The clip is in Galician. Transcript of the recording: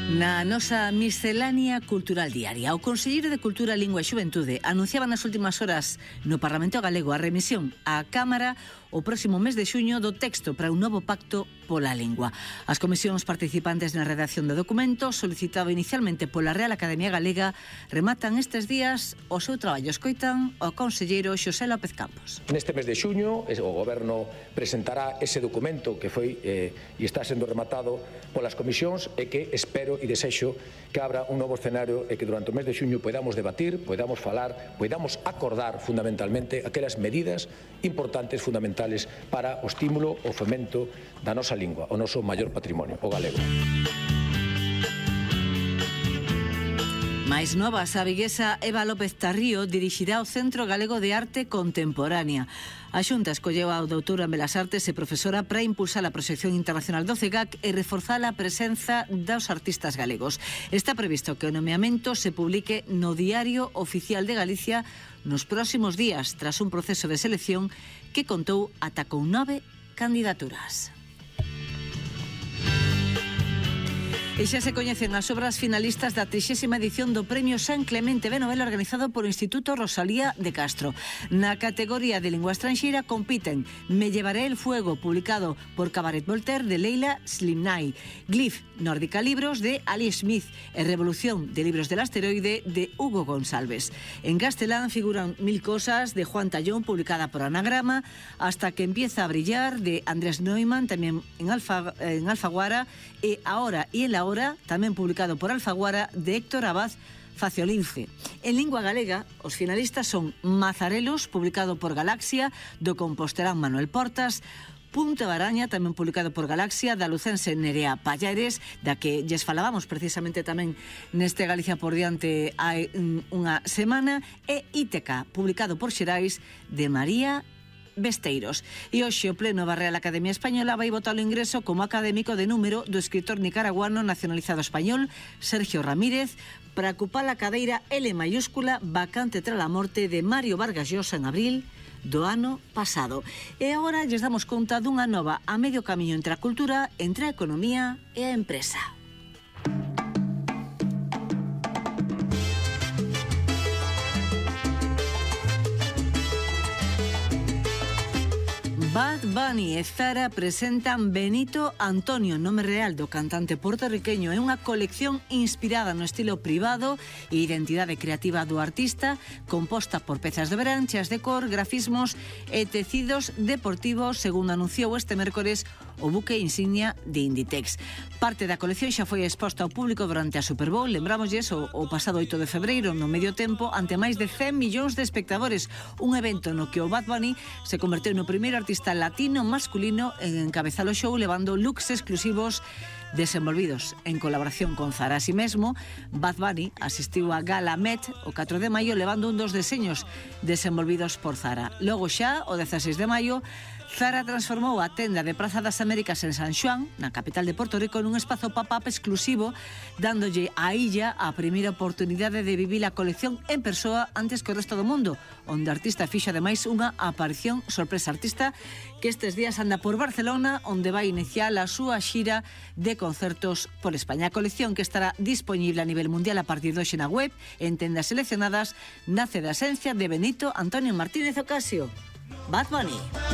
Na nosa miscelánea cultural diaria, o Conselleiro de Cultura, Lingua e Xuventude anunciaba nas últimas horas no Parlamento Galego a remisión á Cámara o próximo mes de xuño do texto para un novo pacto pola lingua. As comisións participantes na redacción do documento, solicitado inicialmente pola Real Academia Galega, rematan estes días o seu traballo. Escoitan o conselleiro Xosé López Campos. Neste mes de xuño, o Goberno presentará ese documento que foi e está sendo rematado polas comisións e que espero e desexo que abra un novo escenario e que durante o mes de xuño podamos debatir, podamos falar, podamos acordar fundamentalmente aquelas medidas importantes, fundamentales para o estímulo, o fomento da nosa lingua, o noso maior patrimonio, o galego. Mais novas, a viguesa Eva López Tarrío dirixirá o Centro Galego de Arte Contemporánea. A Xunta escolleu a doutora en Belas Artes e profesora para impulsar a proxección internacional do CEGAC e reforzar a presenza dos artistas galegos. Está previsto que o nomeamento se publique no Diario Oficial de Galicia nos próximos días, tras un proceso de selección que contou ata con 9 candidaturas. E xa se coñecen as obras finalistas da 30ª edición do Premio San Clemente de Novela organizado por o Instituto Rosalía de Castro. Na categoría de lingua estranxeira compiten Me llevaré el fuego, publicado por Cabaret Voltaire, de Leila Slimnay, Glyph, Nórdica Libros, de Ali Smith, e Revolución de Libros del Asteroide, de Hugo González. En castelán figuran Mil cosas, de Juan Tallón, publicada por Anagrama, Hasta que empieza a brillar, de Andrés Neumann, tamén en Alfaguara, e Ahora y en la Hora, tamén publicado por Alfaguara, de Héctor Abad Faciolince. En lingua galega, os finalistas son Mazarelos, publicado por Galaxia, do compostelán Manuel Portas, Punta Baraña, tamén publicado por Galaxia, da lucense Nerea Pallares, da que lles falábamos precisamente tamén neste Galicia por diante hai unha semana, e Íteca, publicado por Xerais, de María Besteiros. E hoxe o Pleno da Real Academia Española vai votar o ingreso como académico de número do escritor nicaraguano nacionalizado español Sergio Ramírez para ocupar a cadeira L mayúscula vacante tras a morte de Mario Vargas Llosa en abril do ano pasado. E agora lles damos conta dunha nova a medio camiño entre a cultura, entre a economía e a empresa. Bad Bunny e Zara presentan Benito Antonio, nome real do cantante puertorriqueño. É unha colección inspirada no estilo privado e identidade creativa do artista, composta por pezas de verán, cheas de cor, grafismos e tecidos deportivos, segundo anunciou este mércores o buque insignia de Inditex. Parte da colección xa foi exposta ao público durante a Super Bowl, lembrámosles, o pasado 8 de febreiro, no medio tempo, ante máis de 100 millóns de espectadores, un evento no que o Bad Bunny se converteu no primeiro artista latino masculino en encabezar o show, levando looks exclusivos desenvolvidos en colaboración con Zara. Así mesmo, Bad Bunny asistiu a Gala Met o 4 de maio levando un dos deseños desenvolvidos por Zara. Logo xa, o 16 de maio, Zara transformou a tenda de Praza das Américas en San Xoán, na capital de Porto Rico, nun espazo pop-up exclusivo, dándolle á illa a primeira oportunidade de vivir a colección en persoa antes que o resto do mundo, onde a artista fixo ademais unha aparición sorpresa. Artista que estes días anda por Barcelona, onde vai iniciar a súa xira de concertos por España. A colección, que estará disponible a nivel mundial a partir de hoxe na web, en tendas seleccionadas, nace da esencia de Benito Antonio Martínez Ocasio. Bad Bunny.